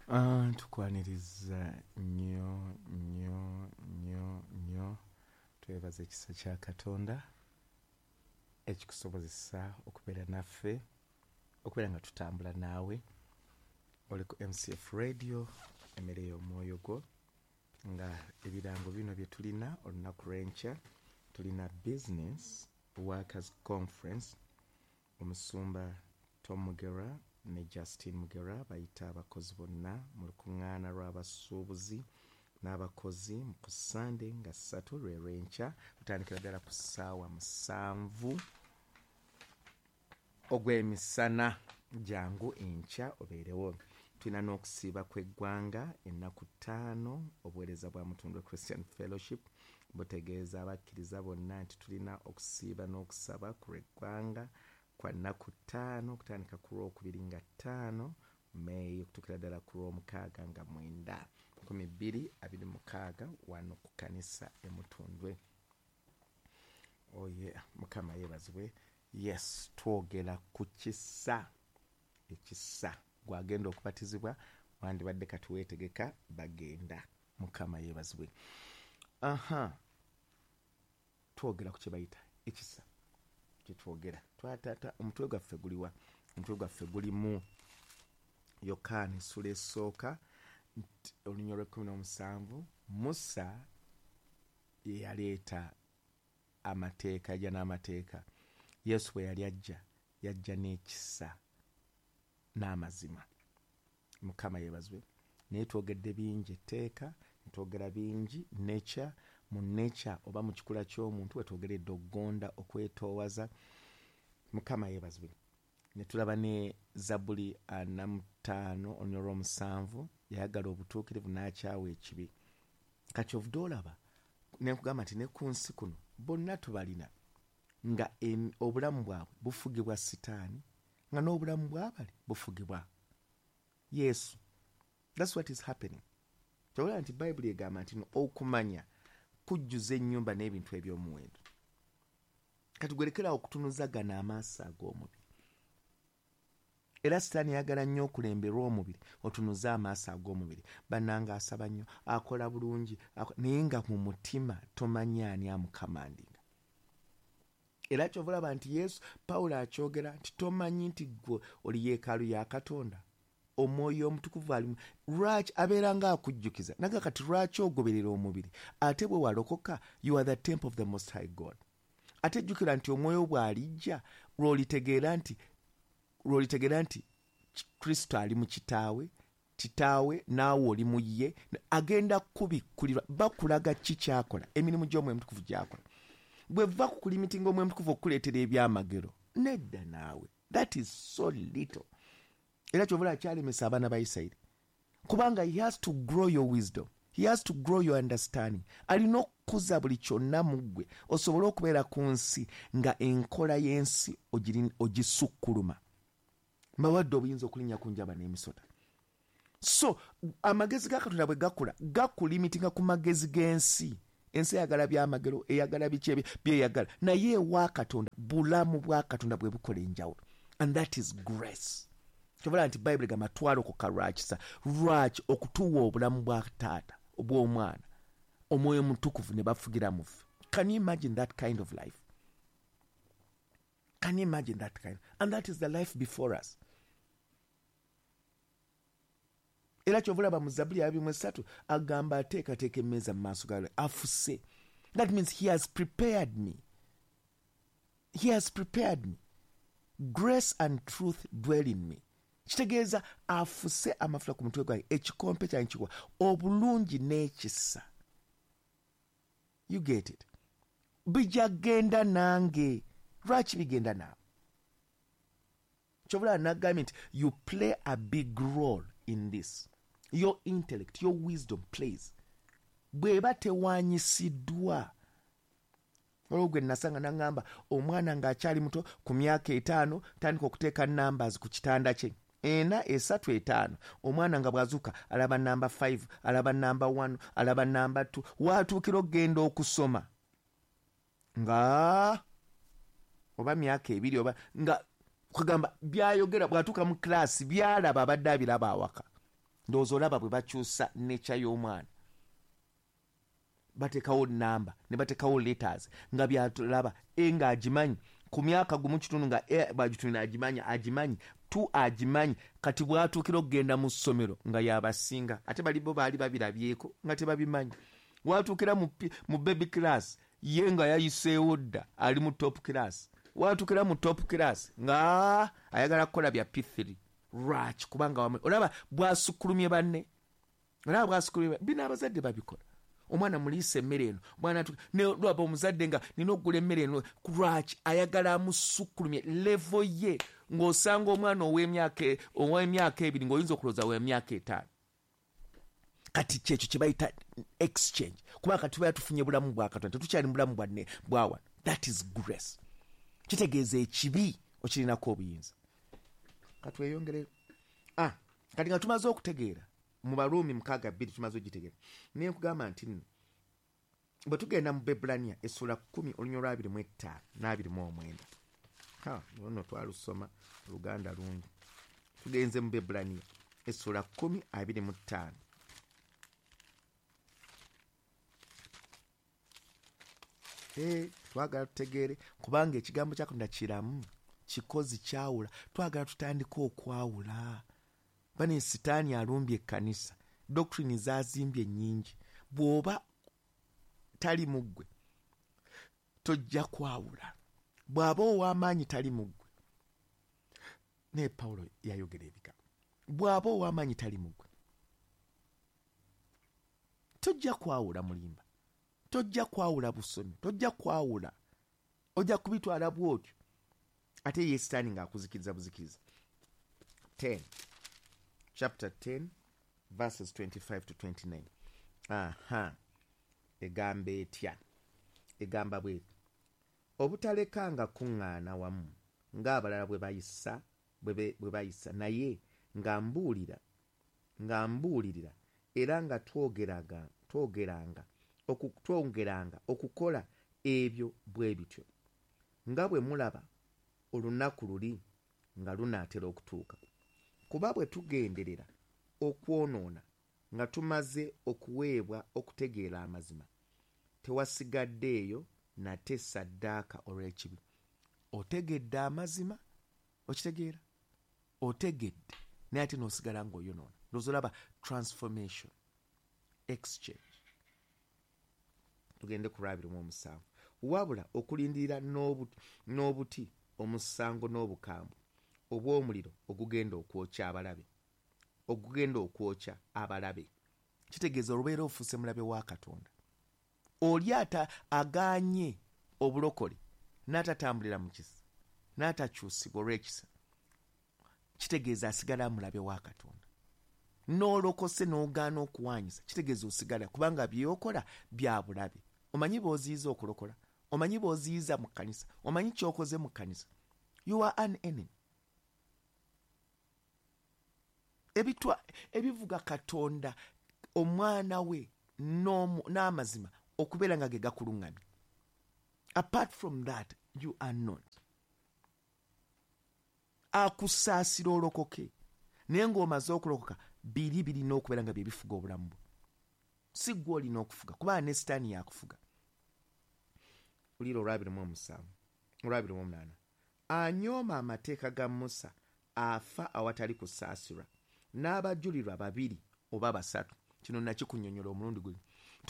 Tukwaniriza nnyo nnyo nnyo nnyo. Twebaza ekisa kya Katonda ekikusobozesa okubeera naffe, okubeera nga tutambula naawe. Oli ku MCF Radio, emmere y'omwoyo gwo, nga ebirango bino bye tulina olunaku lw'enkya. Tulina Business Workers Conference. Omusumba Tom Mugera ne Justine Mugera bayita abakozi bonna mu lukuŋŋaana lw'abasuubuzi n'abakozi ku Ssande nga 3 lwe lw'enkya. Lutandikira ddala ku ssaawa 7 ogw'emisana. Jangu enkya obeerewo. Tulina n'okusiiba kw'eggwanga ennaku 5. Obuweereza bwa Mutundwe Christian Fellowship butegeeza abakkiriza bonna nti tulina okusiiba n'okusaba ku lw'eggwanga kwa nnaku 5, okutandika ku Lwokubiri nga 5 Meeyi okutuukira ddala ku Lwomukaaga nga 9 2026, wano ku kanisa e Mutundwe. Oye Mukama yeebazibwe. Yes, twogera ku kisa. Ekisa, gwagenda okubatizibwa, wandibadde kati weetegeka, bagenda. Mukama yeebazibwe. Aha, twogera ku kye bayita ekisa. Kyetwogera twatata, omutwe gwaffe guliwa? Omutwe gwaffe gulimu Yokaana essula esooka, olunya olw'e17. Musa yeyaleeta amateeka, yajja n'amateeka. Yesu bwe yali ajja, yajja n'ekisa n'amazima. Mukama yeebazibwe. Naye twogedde bingi etteeka, netwogera bingi nature. Mu nature oba mu kikula ky'omuntu wetwogeredde okugonda, okwetoowaza. Mukama yeebazibwe. Ne tulaba ne Zabuli 45 olunya olw'omusanvu: yayagala obutuukirivu n'akyawa ekibi. Kati ovudde olaba nenkugamba nti ne ku nsi kuno bonna tubalina nga obulamu bwabwe bufugibwa Sitaani, nga n'obulamu bwabali bufugibwa Yesu. That's what is happening. Kyolaba nti Bayibuli egamba nti no okumanya kujjuza ennyumba n'ebintu eby'omuwendo. Kati gwerekerawo okutunuza gano amaaso ag'omubiri. Era Sitaani yagala nnyo okulemberwa omubiri, otunuze amaaso ag'omubiri. Bannanga asaba nnyo, akola bulungi, naye nga mu mutima tomanyi ani amucommandinga. Era kyova olaba nti Yesu, Pawulo akyogera nti tomanyi nti gwe oli yeekaalu ya Katonda, Omwoyo Omutukuvu alimu? Lwaki abeera nga akujjukiza naga? Kati lwaki ogoberera omubiri, ate bwe walokoka? You are the temple of the Most High God. Ate jjukira nti Omwoyo bw'alijja, lw'olitegeera nti Kristo ali mu Kitaawe, Kitaawe naawe oli mu ye. Agenda kubikkulirwa, bakulaga ki kyakola, emirimu gy'Omwoyo Mutukuvu gyakola. Bweva ku kulimitinga Omwoyo Mutukuvu okukuleetera ebyamagero, nedda naawe, that is so little. Era kyovula akyalemesa abaana ba Isirayiri, kubanga he has to grow your wisdom, he has to grow your understanding. Alina okukuza buli kyonna mu ggwe osobole okubeera ku nsi nga enkola y'ensi ogisukkuluma. Mbawadde obuyinza okulinnya ku njaba n'emisota. So amagezi ga Katonda bwe gakula, gakulimitinga ku magezi g'ensi. Ensi eyagala byamagero, eyagala biki byeyagala, naye ewa Katonda bulamu bwa Katonda bwe bukola enjawulo, and that is grace. Kyobala nti Bayibuli gamba twalokoka lwakisa. Lwaki? Okutuwa obulamu bwa Taata, obw'Omwana, Omwoyo Mutukuvu ne bafugira mu ffe. Can you imagine that kind of life? Can you imagine that kind? And that is the life before us. Era kyova olaba mu Zabuli 23 agamba ateekateeka emmeeza mu maaso gawe, afuse. That means he has prepared me, he has prepared me. Grace and truth dwell in me. Kitegeeza afuse amafuta ku mutwe gwange, ekikompe kyange kiwa obulungi n'ekisa. You get it? Bijja genda nange. Lwaki bigenda naawe? Kyobulaba nagambye nti you play a big role in this. Your intellect, your wisdom plays, bw'eba tewanyisiddwa. Olwo gwe nasanga naŋŋamba omwana ng'akyali muto, ku myaka 5, tandika okuteeka numbers ku kitanda kye, 4, 3, 5. Omwana nga bw'azuuka alaba namba 5, alaba namba 1, alaba namba 2. Waatuukira okugenda okusoma nga oba myaka 2 oba nga kugamba byayogera, bw'atuuka mu class byalaba abadde abiraba awaka. Ndowooza olaba bwe bakyusa nature y'omwana, bateekawo namba ne bateekawo letters nga byatulaba e ng'agimanyi ku myaka 1.5 nga e bagitunira agimanyi 2 agimanyi. Kati bw'atuukira okugenda mu ssomero nga yabasinga, ate bali bo baali babirabyeko nga tebabimanyi. Watuukira mu baby class ye nga yayiseewo dda, ali mu top class. Watuukira mu top class nga ayagala kukola bya P3. Lwaki? Kubanga olaba bw'asukkulumye banne, olaba bw'asukkulumye bino abazadde babikola. Omwana muliisa emmere eno, omwana lwaba omuzadde nga nina okugula emmere eno, lwaki ayagala amusukkulumye level ye? Ng'osanga omwana ow'emyaka 2 ng'oyinza okulowooza w'emyaka 5. Kati kyekyo kye bayita exchange, kuba kati tubeera tufunye bulamu bwa Katonda, tetukyali mu bulamu bwa wano. That is grace. Kitegeeza ekibi okirinako obuyinza. Katweyongere. Kati nga tumaze okutegeera mu Baruumi 6:2 tumaze okugitegeera, naye nkugamba nti nno bwe tugenda mu Bebbulaniya essula 10 olunyiriri lwa 25 n'29, luno twalusoma Oluganda lungi. Tugenze mu Bebbulaniya essula 10 25. Twagala tutegeere, kubanga ekigambo kya Katonda kiramu, kikozi kyawula. Twagala tutandike okwawula. Bane Sitaani alumbye ekkanisa, doctrine zazimbye nnyingi. Bw'oba tali mu ggwe tojja kwawula, bw'aba ow'amaanyi tali mu ggwe. Naye Pawulo yayogera ebigambo, bw'aba ow'amaanyi tali mu ggwe tojja kwawula mulimba, tojja kwawula busomi, tojja kwawula, ojja kubitwala bw'otyo. Ate ye Sitaani ng'akuzikiriza buzikiriza. 10 chapter 10 verses 25 to 29. Aha, egamba etya? Egamba bweti: obutalekanga kuŋŋaana wamu ng'abalala bwe bayisa, naye nga mbuulirira era nga twongeranga okukola ebyo bwe bityo, nga bwe mulaba olunaku luli nga lunaatera okutuuka. Kuba bwe tugenderera okwonoona nga tumaze okuweebwa okutegeera amazima, tewasigaddeeyo nate ssaddaaka olw'ekibi. Otegedde amazima, okitegeera, otegedde, naye ate n'osigala ng'oyonoona. Ndowooza olaba transformation, exchange. Tugende ku 27. Wabula okulindirira n'obuti omusango n'obukambwe obw'omuliro ogugenda okwokya abalabe, ogugenda okwokya abalabe. Kitegeeza olubeera ofuuse mulabe wa Katonda. Oli ata agaanye obulokole n'atatambulira mu kisa, n'atakyusibwa olw'ekisa, kitegeeza asigala mulabe wa Katonda. N'olokose n'ogaana okuwanyisa, kitegeeza osigala, kubanga by'okola bya bulabe. Omanyi b'oziyiza okulokola, omanyi b'oziyiza mu kkanisa, omanyi ky'okoze mu kkanisa. You are an enemy. Ebivuga Katonda, omwana we n'amazima okubeera nga ge gakuluŋŋamya. Apart from that, you are not. Akusaasira olokoke, naye ng'omaze okulokoka, biri birina okubeera nga bye bifuga obulamu bwo. Si ggwe olina okufuga, kubanga ne Sitaani yakufuga. Wulira olwa 27, olwa 28. Anyooma amateeka ga Musa afa awatali kusaasirwa, n'abajulirwa 2 oba 3. Kino nakikunnyonnyola omulundi guno.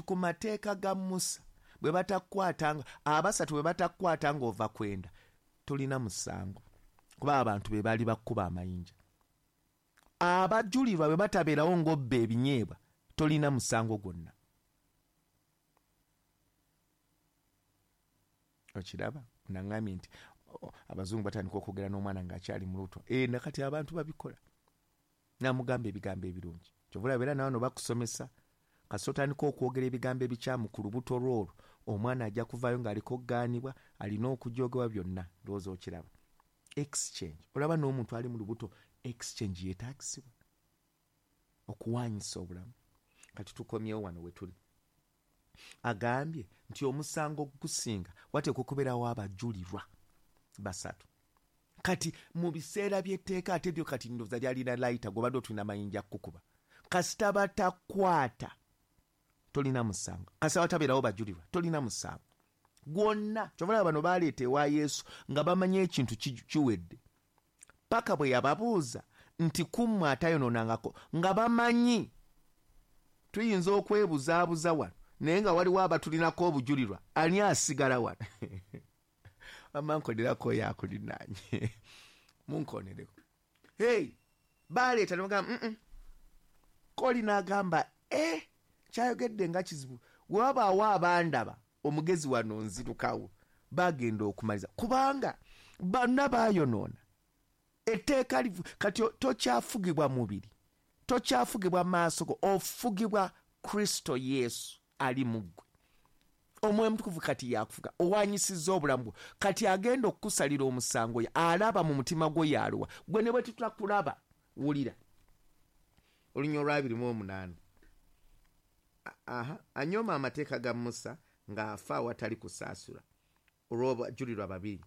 Ku mateeka ga Musa bwe batakwatanga, 3 bwe batakwatanga ova kwenda, tolina musango, kuba abantu be baali bakkuba amayinja. Abajulirwa bwe batabeerawo ng'obba ebinyeebwa, tolina musango gwonna. Okiraba? Naŋŋambye nti abazungu batandika okwogera n'omwana ng'akyali mu lubuto. Nakati abantu babikola. Namugamba ebigambo ebirungi. Kyova olaba era nawe bakusomesa, kasita otandika okwogera ebigambo ebikyamu ku lubuto lw'olwo, omwana ajja kuvaayo ng'aliko okugaanibwa, alina okujoogebwa byonna. Ndowooza okiraba. Exchange. Olaba n'omuntu ali mu lubuto, exchange yeetaagisibwa okuwanyisa obulamu. Kati tukomyewo wano we tuli. Agambye nti omusango gusinga wateekwa okubeerawo abajulirwa 3. Kati mu biseera by'etteeka ate byo kati ndowooza lyalina layita, gw'obadde otulina mayinja kukuba. Kasita batakwata tolina musango, kasita batabeerawo bajulirwa tolina musango gwonna. Kyova bano baleeta ewa Yesu nga bamanyi ekintu kiwedde, paka bwe yababuuza nti kummwe atayonoonangako, nga bamanyi tuyinza okwebuzaabuza wano naye nga waliwo abatulinako obujulirwa, ani asigala wano? Amankonerako oyo akulinaanye, munkonereko. Hey, baleeta ne bagamba koli n'agamba kyayogedde nga kizibu, we wabaawo abandaba omugezi wano nzirukawo. Bagenda okumaliza kubanga bonna baayonoona etteeka kati tokyafugibwa mubiri, tokyafugibwa maaso go, ofugibwa Kristo Yesu ali mu ggwe. Omwoyo Omutukuvu kati yakufuga, owanyisizza obulamu bwo. Kati agenda okukusalira omusango, alaba mu mutima gwo yaluwa gwe ne bwe tutakulaba. Wulira olunya olwa 28. Anyooma amateeka ga Musa ng'afa awatali kusaasula olw'abajulirwa babiri.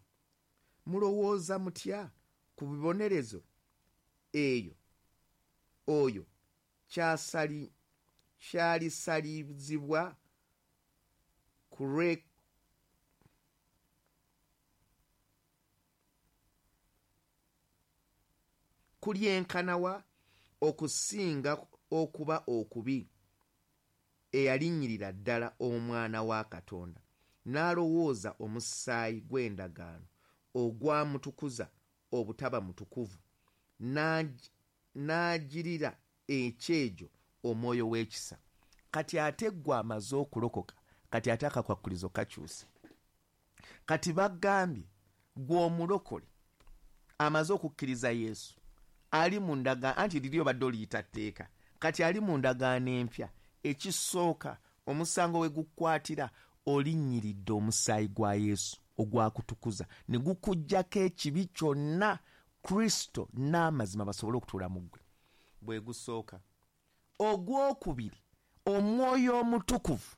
Mulowooza mutya ku bibonerezo eyo oyo kyalisalizibwa kulyenkanawa okusinga okuba okubi eyalinnyirira ddala omwana wa Katonda n'alowooza omusaayi gw'endagaano ogwamutukuza obutaba mutukuvu n'agirira ekyejo omwoyo w'ekisa. Kati ate ggwe amaze okulokoka, kati ate akakwakulizo kakyuse. Kati bagambye ggwe omulokole amaze okukkiriza Yesu ali mu ndagaano, anti liri obadde oliyita tteeka, kati ali mu ndagaano empya. Ekisooka omusango we gukwatira olinnyiridde omusaayi gwa Yesu ogwakutukuza ne gukuggyako ekibi kyonna, Kristo n'amazima basobole okutuula mu ggwe. Bwe gusooka. Ogwokubiri, omwoyo omutukuvu.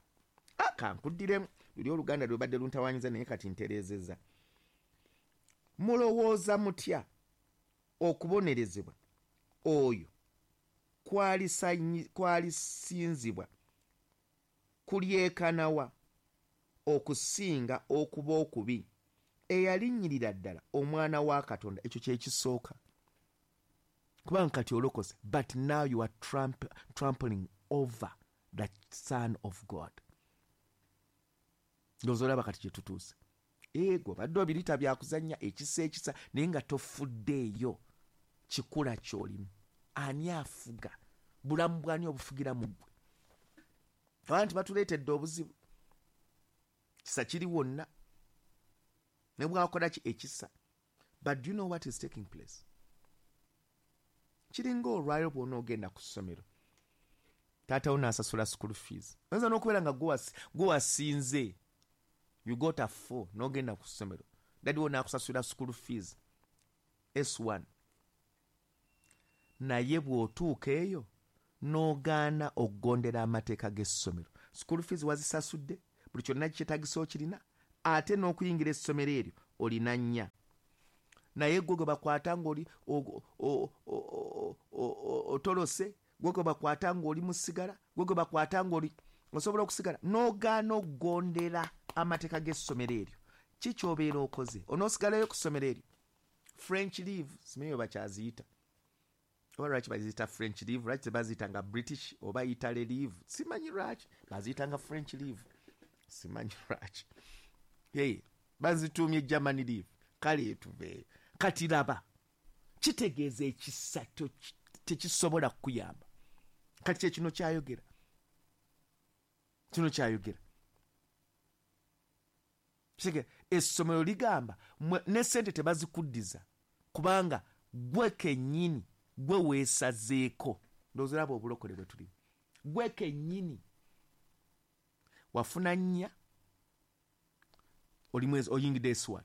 Kankuddiremu luli oluganda lwe badde luntawaanyiza naye kati ntereezezza. Mulowooza mutya okubonerezebwa oyo kwalisinzibwa kulyekanawa okusinga okuba okubi eyalinnyirira ddala omwana wa Katonda? Ekyo kye kisooka, kubanga kati olokose, but now you are trampling over the Son of God. Ndowooza olaba kati gye tutuuse. Ego badde obirita byakuzannya ekisa ekisa, naye nga tofuddeeyo kikula ky'olimu. Ani afuga? Bulamu bwani obufugira mu ggwe? Abantu batuleetedde obuzibu. Kisa kiri wonna ne bwakola ki ekisa. But do you know what is taking place? Kiringa olwaliro bw'onoogenda ku ssomero, taata wo n'asasula school fees, oyinza n'okubeera nga gwe wasinze, you got a 4, n'ogenda ku ssomero, daddy wo n'akusasulira school fees S1, naye bw'otuuka eyo n'ogaana okugondera amateeka g'essomero, school fees wazisasudde, buli kyonna kyetagisa okirina, ate n'okuyingira essomero eryo olina 4, naye gwe gwe bakwata ng'oli otolose, gwe gwe bakwata ng'oli musigala, gwe gwe bakwata ng'oli osobola okusigala, n'ogaana okugondera amateeka g'essomero eryo, ki ky'obeera okoze? Onoosigalayo ku ssomero eryo? French leave, simanyi bwe bakyaziyita, oba lwaki baziyita French leave, lwaki tebaziyita nga British oba Italy leave, simanyi lwaki baziyita nga French leave, simanyi lwaki. Hey, bazituumye Germany leave, kale tuveeyo. Kati laba, kitegeeza ekisa tekisobola kukuyamba. Kati kye kino kyayogera, kino kyayogera. Essomero ligamba ne ssente tebazikuddiza kubanga gwe kennyini gwe weesazeeko. Ndowooza olaba obulokole bwe tulimu. Gwe kennyini wafuna 4, oli mwezi oyingidde S1,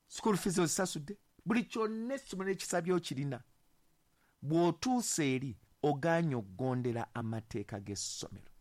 school fees ozisasudde, buli kyonna essomero ekisabye okirina. Bw'otuusa eri ogaanye okugondera amateeka g'essomero.